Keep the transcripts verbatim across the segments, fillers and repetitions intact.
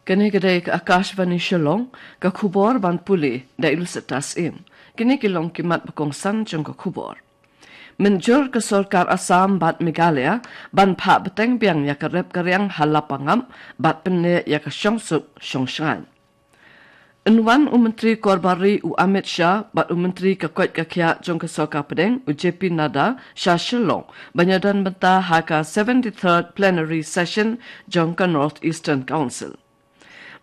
Kane ka dei ka Akashvani Shillong, ka khubor ban pule da i Lucetta Syiem. Kine ki long ki mat ba kongsan jong ka khubor. Mynjur ka sorkar Assam bad Meghalaya ban phah bteng biang ïa ka rep ka riang ha Lapangap bad pynneh ïa ka shongsuk shongshngaiñ. Yn wan u Myntri Korbar Ri u Amit Shah bad u Myntri ka koit ka khiah jong ka sorkar pdeng u J P Nadda sha Shillong ban ïadon bynta ha ka seventy-third plenary session jong ka North Eastern Council.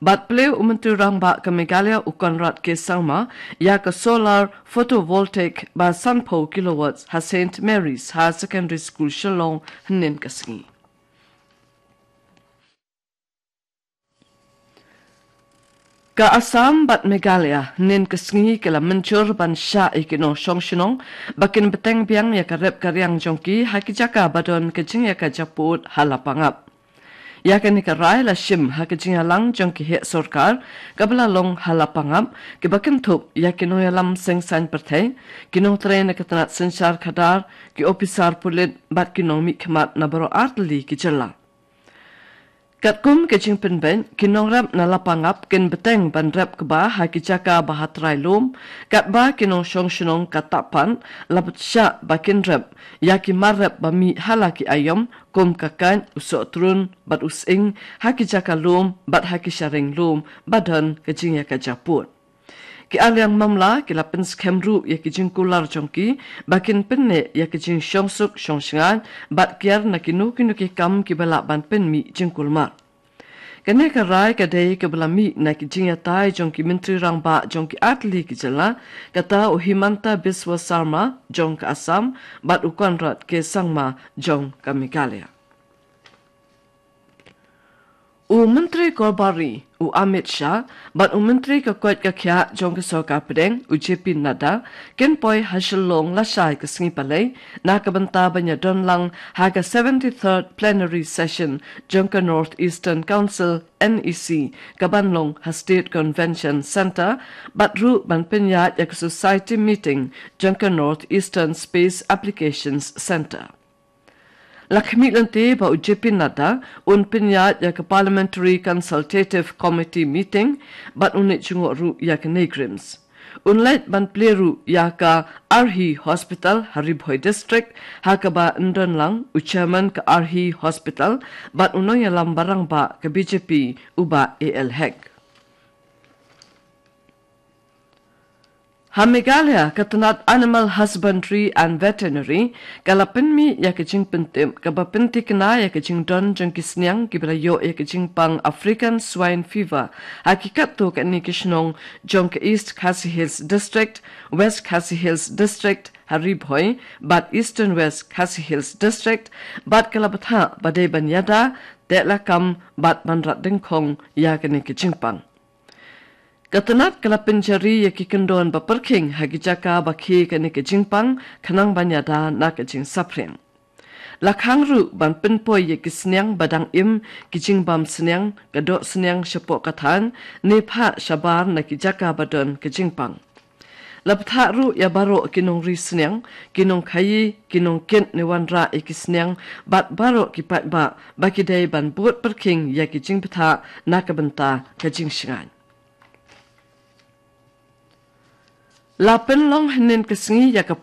Bad plie u Myntri Rangbah ka Meghalaya u Conrad K Sangma ïa ka solar photovoltaic ba sanphew kilowatts ha Saint Mary's Higher Secondary School Shillong hynnin ka sngi. Ka Assam bad Meghalaya hynnin ka sngi ki la mynjur ban shah ïa ki nongshong shnong ba kin bteng biang ïa ka rep ka riang jong ki ha ki jaka ba don ka jingïakajia pud ha Lapangap. Ïa kane ka rai la shim ha ka jingïalang jong ki heh sorkar kaba la long ha Lapangap, kiba kynthup ïa ki nongïalam seng saiñ pyrthei, ki nongtrei na ka tnat synshar khadar, ki ophisar pulit bad ki nongmihkhmat na baroh artylli ki jylla. Katkum ka jingpynbeit, ki nongrep na Lapangap kin bteng ban rep kba ha ki jaka ba ha trai lum, katba ki nongshong shnong ka Tahpan la bteng shah ba kin rep ïa ki mar rep ba mih ha la ki aïom, kum ka kait, u sohtrun bad u sying ha ki jaka lum bad ha ki shariang lum ba don ka jingïakajia pud. Ki arliang mamla ki la pynskhem ruh ïa ki jingkular jong ki ba kin pynneh ïa ki jingshongsuk shongshngaiñ bad kiar na kino kino ki kam kiba lah ban pynmih jingkulmar. Kane ka rai ka dei kaba la mih na ki jingïatai jong ki Myntri Rangbah jong ki artylli ki jylla, kata u Himanta Biswa Sarma jong ka Assam bad u Conrad K Sangma jong ka Meghalaya. U Myntri Korbar Ri u Amit Shah bad u Myntri ka koit ka khiah jong ka sorkar pdeng u J P Nadda kin poi ha Shillong lashai ka sngi Palei na ka bynta ban ïadon lang ha ka seventy-third plenary session jong ka North Eastern Council, N E C, kaban long ha State Convention Centre, bad ruh ban pynïaid ïa ka society meeting jong ka North Eastern Space Applications Centre. La khmih lynti ba u J P Nadda un pynïaid ïa ka Parliamentary Consultative Committee meeting bad un leit jngoh ruh ïa ka NEIGRIHMS. Un leit ban plie ruh ïa ka Arhi Hospital ha Ri Bhoi District, ha kaba yn don lang u Chairman ka Arhi Hospital bad u nongïalam ba rangbah ka B J P u Bah A L Hek. Ha Meghalaya, ka tnat Animal Husbandry and Veterinary ka la pynmih ïa ka jingpyntip kaba pynthikna ïa ka jingdon jong ki sniang kiba la ïoh ïa ka jingpang African Swine Fever ha ki katto katne ki shnong jong ka East Khasi Hills District, West Khasi Hills District ha Ri Bhoi bad Eastern West Khasi Hills District, bad ka la bthah ba dei ban ïada, teh lakam bad ban rat dyngkhong ïa kane ka jingpang. Ka tnat ka la pynjari ïa ki kyndon ba pyrkhing ha ki jaka ba khie kane ka jingpang khnang ban ïada na ka jingsaphriang. La khang ruh ban pynpoi ïa ki sniang ba dang im, ki jingbam sniang, ka doh sniang shapoh ka thaiñ, ne phah shabar na ki jaka ba don ka jingpang. La bthah ruh ïa baroh ki nongri sniang, ki nongkhaïi, ki nongkit ne wanrah ïa ki sniang bad baroh ki paidbah ba ki dei ban bud pyrkhing ïa ki jingbthah na ka bynta ka jingshngaiñ. La pynlong hynnin ka sngi ïa ka